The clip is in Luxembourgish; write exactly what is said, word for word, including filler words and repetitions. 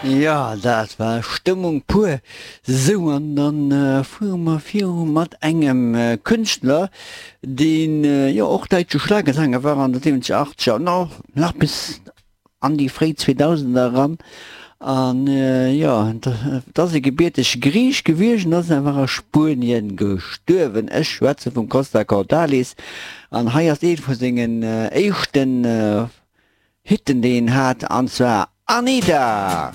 Jo, dat war Stëmmung pur. Sou, an dann fuere mer viru mat engem Kënschtler, deen jo och däitsche Schlagersänger war an de siwwenzeger, achtzeger an och nach bis an déi fréi Zweedausender eran. An jo, et ass e gebiertege Griich gewiescht an ass awer a Spuenien gestuerwen. Ech schwätze vum Costa Cordalis an hei ass ee vu sengen éischten Hitten déi en hat, an zwar Anita!